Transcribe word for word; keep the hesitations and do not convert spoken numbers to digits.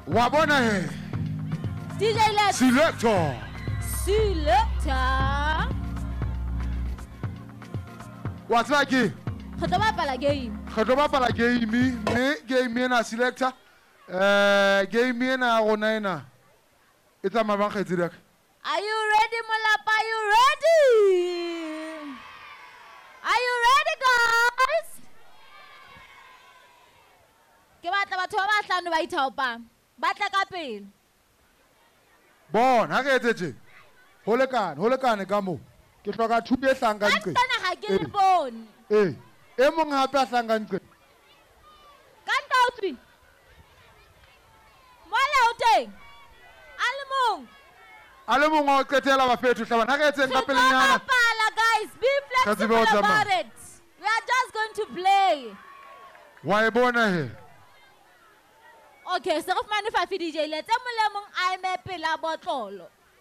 Wa bona he. D J Let's. Selector. Selector. Wa tseba ke? Re tlo bapala game. Re tlo bapala game, mme game ena selector. Eh, game ena ya rona ena. E tsamaya bang kgaitsedi ya ka? Are you ready, Molapa? Are you ready? Are you ready, guys? Ke batla batho ba bahlano ba ithaopang. Ba tle ka pele. Bona, ha re etse tje. Ho lekane, ho lekane ka moo. Ke hloka thuto e hlahang ka Ka nqeng. nqena ha ke le Ee. bone. Ee. E mong hape a hlahang ka nqeng. Ka nqa o tswile? Mola o teng? A le mong. A le mong wa ho qetela bafethu, hlabana. Ha re etseng ka Re tlo pelenyana. bapala, guys. Be Re tsebe ho flexible tsamaya. about it. We are just going to play. Wa e bona he? Okay, se re fumane five D J Let's. E mong le mong a eme pela botlolo.